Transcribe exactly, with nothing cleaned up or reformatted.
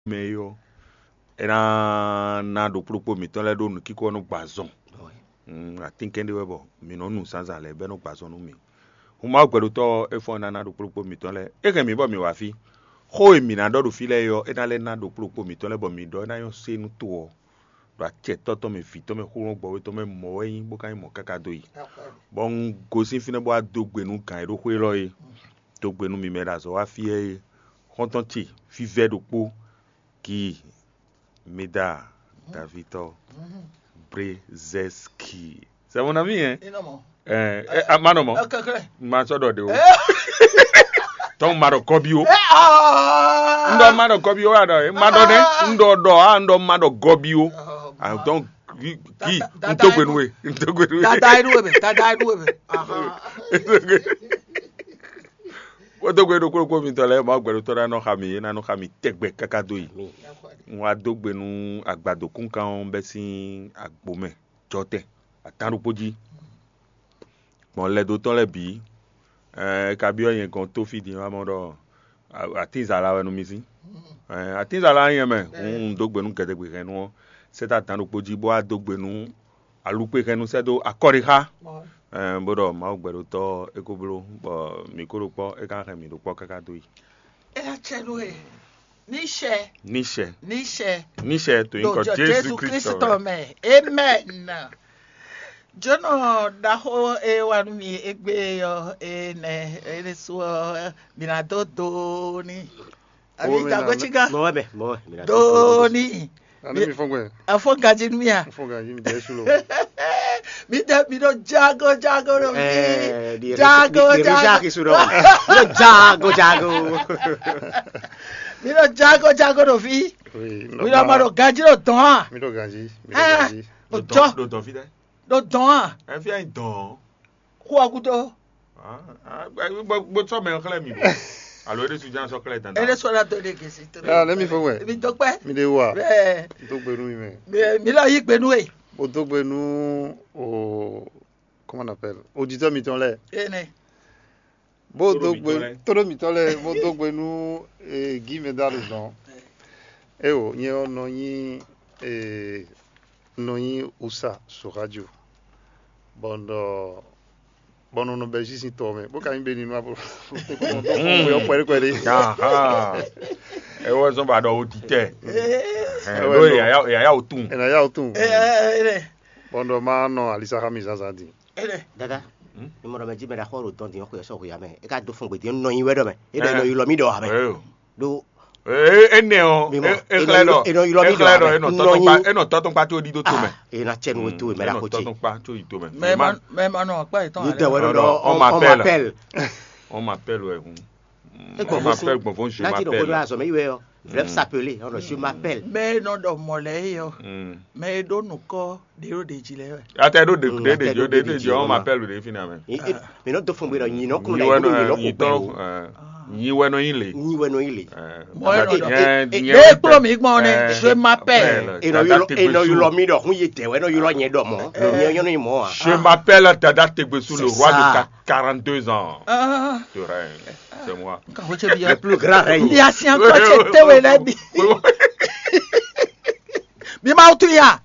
mɛ é ɔ́, é ná ná ɖokpló ɖokpó mǐtɔn lɛ́ɛ ɖó nǔkíkó ɔ́ nɔ gbɔ azɔn. Mm, atínkɛn ɖé wɛ bɔ mǐ nɔ nu zǎnzǎn lɛ́ɛ bɔ é nɔ gbɔ azɔn nú mì. Hun Mawu gbɛɖotɔ́ ɔ́, é fɔ́n ná ná ɖokpló ɖokpó mǐtɔn lɛ́ɛ. É hɛn mǐ bɔ mǐ wá fí. Xó e mǐ ná ɖɔ ɖo fí lɛ́ɛ é ɔ́, é ná lɛ́ ná ɖokpló ɖokpó mǐtɔn lɛ́ɛ bɔ mǐ ɖɔ é ná nyɔ́ sé nú to ɔ́, ɖo acɛ Tɔ́ tɔn mɛ, Vǐ tɔn mɛ, Xúlɔ́mɔgbɔví tɔn mɛ mɔ̌ wɛ é nyí, bó ka nyí mɔ̌ káká dó yi. Bɔ un gosín fínɛ́ bó wá dó gbe nú gǎn e ɖó xwé élɔ́ é, dó gbe nú mi mɛ e ɖo azɔ̌ wá fí ɛ é, xɔ́ntɔn ce vívɛ́ ɖokpó, Ki, Mida, Davitɔ, Brezɛski. C'est mon ami, hein? Ɛ, ɛ, a ma nɔ mɔ. Ma sɔ ɖɔ ɖe o. Tɔn ma ɖɔ kɔbi o. Un ɖɔ ma ɖɔ kɔbi o, a ɖɔ e ma ɖɔ nɛ. Un ɖɔ ɖɔ a un ɖɔ ma ɖɔ gɔbi o. Ah, donc, ki, ki, un to gbe nú we. Un to gbe nú we. Dada e ɖu we mɛ, dada e ɖu we mɛ. Ahan. Wotogbe ɖokpó ɖokpó mitɔn lɛ́ɛ, Mawu gbɛɖotɔ́ ná nɔ xa mì, é ná nɔ xa mì tɛgbɛ káká dó yi. Un wá dó gbe nú agbadokúnkan ɔ́ bɛ́ sín agbo mɛ jɔtɛn atán ɖokpó jí. Gbɔn lɛdotɔ́ lɛ́ɛ bǐ, ɛ, é ka byɔ́ nyɛ gɔ́n tó fí din wá mɔ ɖɔ atínzala wɛ nú mì sín. Ɛ, atínzala nyɛ mɛ, un dó gbe nú gɛdɛgbehɛ́nnu ɔ́, sɛ́ dó atán ɖokpó jí, bó wá dó gbe nú alukpexɛnnu sɛ́ dó akɔ́ɖixa. Ɛ, bó ɖɔ Mawu gbɛɖotɔ́ é ko bló, bɔ mǐ ko ɖo kpɔ́, é ka hɛn mǐ ɖo kpɔ́ káká dó yi. É ná cɛ nú we. Níṣɛ. Níṣɛ. Níṣɛ. Níṣɛ to nyǐkɔ Jezu Kristu mɛ. Amen. Jǒnɔ ɖaxó e wá nú mi égbé ɔ́, énɛ́ é ɖésú ɔ́, mi ná dó do n'i. Àbí dagɔ́ cí gán? Mɔ̌ wɛ mɛ, mɔ̌ wɛ. Dó n'i. Ani mi fɔn gbɛ. Afɔ gaji nú mi a? Fɔn gaji mi jɛ su lo. Mi ɖe mi ɖo jago jago ɖo mi. Jago jago. Mi ɖo jago jago. Mi ɖo jago jago ɖo fi. Mi ɖo ma ɖo gaji ɖo dɔn a? Mi ɖo gaji. Mi ɖo gaji. Ɖo dɔn. Ɖo dɔn fi ɖe. Ɖo dɔn a? Ɛ fi anyi dɔn. Xó ɔ gúdo. Bó sɔ́ mɛ xlɛ́ mi bɔ alo é ɖésú ján sɔ́ xlɛ́ dandan. É ɖésú ɔ́ ná dó ɖe gěsí tó. Ah, let me forward. Mi dó kpɛ́. Mi ɖe wa. Bẹ́ẹ̀. Dó gbe nú mi mɛ. Mi lɔ yí gbe nú e. Bó dó gbe nú o, comment on appelle, auditeur mitɔn lɛ́ɛ. Énɛ́. Bó dó gbe, tóɖó mitɔn lɛ́ɛ, bó dó gbe nú Guy Medal dɔn. Eo, nyɛ ɔ́ nɔ nyí nɔ nyí usa so radio, bɔ un ɖɔ bɔ un nɔ bɛ́ sísí tɔ mɛ, bó ka nyí bɛ́ nínú ablo. Xwe ɔ́ kpɛɖé kpɛɖé. Ewɔ zɔn ba ɖɔ o di tɛ. Ɛ, ɖó yàyà yàyà o tún. Ɛ nà yà o tún. Bɔ un ɖɔ má nɔ alisa xá mi zǎnzǎn din. Dada, mi mɔ ɖɔ mɛ jí mɛ ɖaxó ɖo dɔn din ɔ́ xwe ɔ́ sɔ́ xwe ǎ mɛ. É ka dó fɔn gbědín nɔ nyi wɛ ɖɔ mɛ. É ɖɔ nɔ ylɔ mì ɖɔ ǎ mɛ. Ɖó Énɛ́ ɔ́, é xlɛ́ ɖɔ é nɔ ylɔ mì ɖɔ é nɔ tɔ́tɔ́nkpa tó ɖídó tomɛ. È nǎ cɛ nú we towe mɛ ɖaxó ce. Tɔ́tɔ́nkpa tó yi tomɛ. Mɛ ma nɔ akpa yětɔn. Mi dɛ wɛ ɖɔ on m'appelle. On m'appelle wɛ hun. On m'appelle gbɔnfɔn je m'appelle. Azɔ mɛ yi wɛ ɔ. Vlɛb s'appeler, on je m'appelle. Mɛ e nɔ ɖɔ mɔ lɛ é ɔ. Mɛ e ɖó nukɔ ɖě ɖo ɖě jí lɛ wɛ. Atɛ ɖó ɖě ɖě jí ɖě jí on m'appelle ɖě fínɛ́ mɛ. Mi nɔ dó fún mi ɖɔ nyi nɔ kún ɖe nyi tɔ nyi wɛ nɔ nyi le. Nyi wɛ nɔ nyi le. Mɔ e nɔ ɖɔ ɖě kplɔ́ mi gbɔn nɛ, je m'appelle. Enɔ ylɔ mi ɖɔ hun yi dɛ wɛ nɔ ylɔ nyɛ ɖɔ mɔ. Nyɛ nyɔ nɔ nyi mɔ a. Je m'appelle Dada Tegbesu, le roi de quarante-deux ans. Je règne. C'est moi. Le plus grand règne. Bi asi ankɔ ce te we lɛ bi. Bi ma wutu ya.